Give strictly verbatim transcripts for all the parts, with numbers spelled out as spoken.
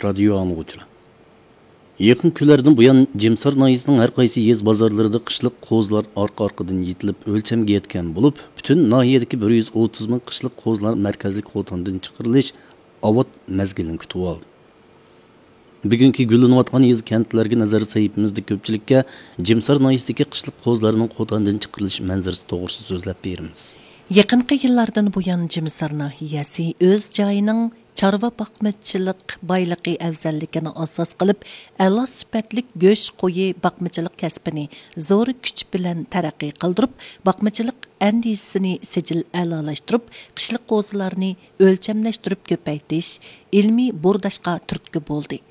رادىيو ئاڭلىغۇچىلار، يېقىنقى كۈنلەردىن بۇيان جىمسار ناھىيەسىنىڭ ھەر قايسى يېزا بازارلىرىدا قىشلىق قوزىلار ئارقا-ئارقىدىن يېتىلىپ ئۆلچەمگە يەتكەن بولۇپ، پۈتۈن ناھىيەدىكى بىر يۈز ئوتتۇز مىڭ قىشلىق قوزىلار مەركەزلىك قوتاندىن چىقىرىلىش ئاۋات مەزگىلىنى كۈتۈۋالدى. بۈگۈنكى گۈللىنىۋاتقان يېزا-كەنتلەرگە نەزەر سەھىپىمىزدە كۆپچىلىككە جىمسار ناھىيەسىدىكى قىشلىق قوزىلارنىڭ قوتاندىن چىقىرىلىش مەنزىرىسى توغرىسىدا سۆزلەپ بېرىمىز. يېقىنقى يىللاردىن بۇيان جىمسار ناھىيەسى ئۆز جايىنىڭ چارۋا باقمىچىلىق بايلىقى ئەۋزەللىكىنى ئاساس قىلىپ، ئەلا سۈپەتلىك گۆش قويى باقمىچىلىق كەسپىنى زور كۈچ بىلەن تەرەققىي قىلدۇرۇپ، باقمىچىلىق ئەندىزىسىنى سىجىل ئەلالاشتۇرۇپ، قىشلىق قوزىلارنى ئۆلچەملەشتۈرۈپ كۆپەيتىش، ئىلمىي بۇرداشقا تۈرتكە بولدى.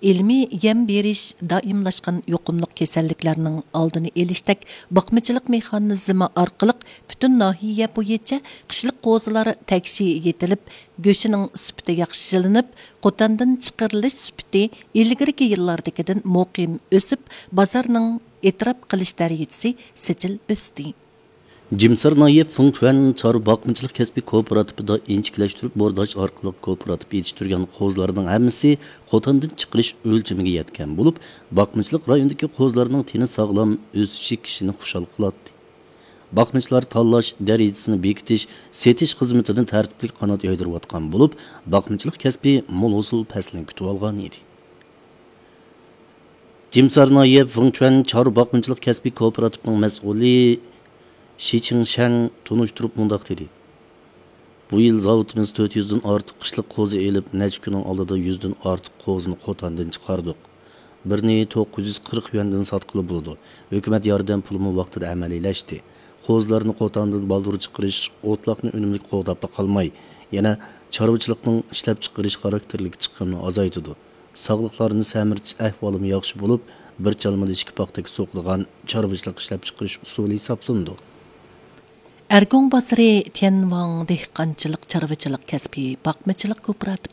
ئىلمىي يەم بېرىش دائىملاشقان يۇقۇملۇق كېسەللىكلەرنىڭ ئالدىنى ئېلىشتەك باقمىچىلىق مېخانىزمى ئارقىلىق پۈتۈن ناھىيە بويىچە قىشلىق قوزىلار تەكشى يېتىلىپ، گۆشىنىڭ سۈپىتى ياخشىلىنىپ، قوتاندىن چىقىرىلىش سۈپىتى ئىلگىرىكى يىللاردىكىدىن مۇقىم ئۆسۈپ، بازارنىڭ ئېتىراپ قىلىش دەرىجىسى سىجىل ئۆستى. جىمسار ناھىيە فېڭچۈەن چارۋا باقمىچىلىق كەسپىي كوپىراتىپىدا ئىنچىكىلەشتۈرۈپ بورداش ئارقىلىق كوپىراتىپ يېتىشتۈرگەن قوزىلارنىڭ ھەممىسى قوتاندىن چىقىرىش ئۆلچىمىگە يەتكەن بولۇپ، باقمىچىلىق رايونىدىكى قوزىلارنىڭ تېنى ساغلام، ئۆسۈشى كىشىنى خۇشال قىلاتتى. باقمىچىلار تاللاش، دەرىجىسىنى بېكىتىش، سېتىش خىزمىتىنى تەرتىپلىك قانات يايدۇرۇۋاتقان بولۇپ، باقمىچىلىق كەسپى مول ھوسۇل پەسلىنى كۈتۈۋالغان ئىدى. جىمسار ناھىيە فېڭچۈەن چارۋا باقمىچىلىق كەسپىي كوپىراتىپىنىڭ مەسئۇلى شى چىڭشەن تونۇشتۇرۇپ مۇنداق دېدى: بۇ يىل زاۋۇتىمىز تۆت يۈزدىن ئارتۇق قىشلىق قوزا ئېلىپ، نەچچە كۈننىڭ ئالدىدا يۈزدىن ئارتۇق قوزىنى قوتاندىن چىقاردۇق. بىرنى توققۇز يۈز قىرىق يۈەندىن ساتقىلى بولىدۇ. ھۆكۈمەت ياردەم پۇلىمۇ ۋاقتىدا ئەمەلىيلەشتى. قوزىلارنى قوتاندىن بالدۇر چىقىرىش ئوتلاقنى ئۈنۈملۈك قوغداپلا قالماي، يەنە چارۋىچىلىقنىڭ ئىشلەپچىقىرىش خاراكتېرلىك چىقىمنى ئازايتىدۇ. ساغلىقلارنى سەمرىتىش ئەھۋالىمۇ ياخشى بولۇپ، بىر چالمىدا ئىككى پاختەك سوقىدىغان چارۋىچىلىق ئىشلەپچىقىرىش ئۇسۇلى ھېسابلىنىدۇ. ئەرگۇڭ بازىرى تيەنۋاڭ دېھقانچىلىق چارۋىچىلىق كەسپىي باقمىچىلىق كوپىراتىپ